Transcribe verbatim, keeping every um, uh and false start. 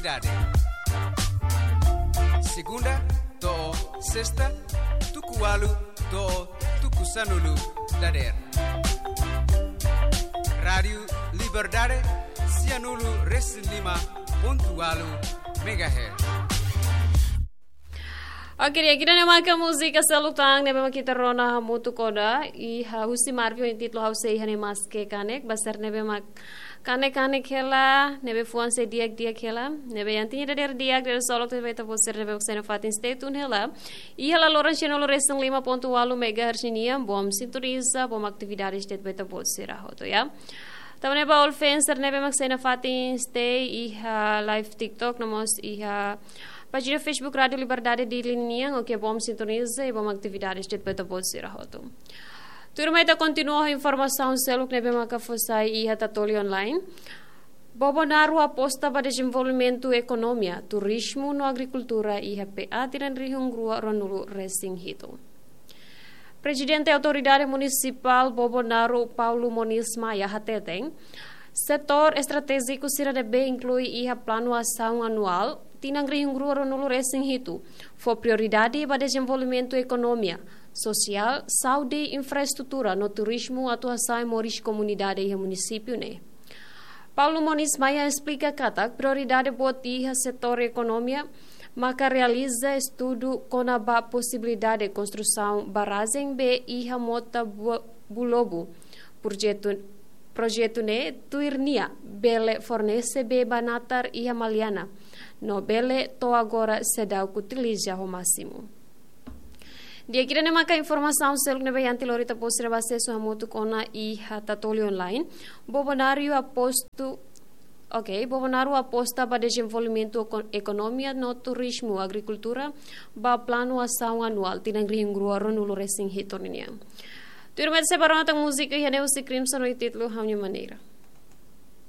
Dade. Segunda to'o sesta, tuku ualu to'o tuku sanulu dadeer. Rádiu Liberdade, sianulu resin lima pontu ualu megahertz. Oke, di'ak, ida-ne'e maka múzika seluk tan ne'ebé mak ita rona hamutuk ona, iha husi Marvi ho intitulu Ha'u Sei Iha Ne'e Maske Kanek, ba sira ne'ebé mak kanek-kanek hela, ne'ebé fuan sei di'ak-di'ak hela, ne'ebé iha tinan ida dadeer di'ak, dadeer solok de'it ba ita-boot sira ne'ebé mak sei nafatin stay tune hela. Iha laloran sianulu resin lima pontu ualu megahertz ninian, bom sintoniza, bom atividades de'it ba ita-boot sira hotu, ya. Tanba ne'e ba all fans sira ne'ebé mak sei nafatin stay iha live TikTok, no mós iha pájina Facebook Rádiu Liberdade Dili nian, oke, bom sintoniza i bom atividades de'it ba ita-boot sira hotu. Tuirmai ita kontinua ho informasaun seluk ne'ebé maka fó sai iha Tatoli Online. Bobonaro aposta ba dezenvolvimentu ekonomia, turizmu no agrikultura iha P A tinan rihun rua ruanulu resin hitu. Prezidente Autoridade Munisipál Bobonaro, Paulo Moniz Maia, hateten, setór estratéjiku sira ne'ebé inklui iha planu asaun anuál tinan rihun rua ruanulu resin hitu fó prioridade ba dezenvolvimentu ekonomia, sosiál, saúde, infraestrutura no turizmu atu hasa'e moris komunidade iha munisípiu ne'e. Paulo Moniz Maia esplika katak prioridade boot iha setór ekonomia maka realiza estudu kona-ba posibilidade konstrusaun barrajen bee iha mota Bu-, Bulobu. Projetu, projetu ne'e tuir nia bele fornese bee ba natar iha Maliana, no bele to'o agora seidauk utiliza ho másimu. Di'ak, ida-ne'e maka informasaun seluk ne'ebé iha tinan ida, ita-boot sira bele asesu hamutuk ona iha Tatoli Online. Bobonaro aposta, oke, Bobonaro aposta ba dezenvolvimentu eko-, ekonomia no turizmu, agrikultura, ba planu asaun anuál tinan rihun rua ruanulu resin hitu ninian. Tuirmai ita sei bá rona tan múzika iha ne'e husi Crimson ho intitulu Ha'u-nia Maneira.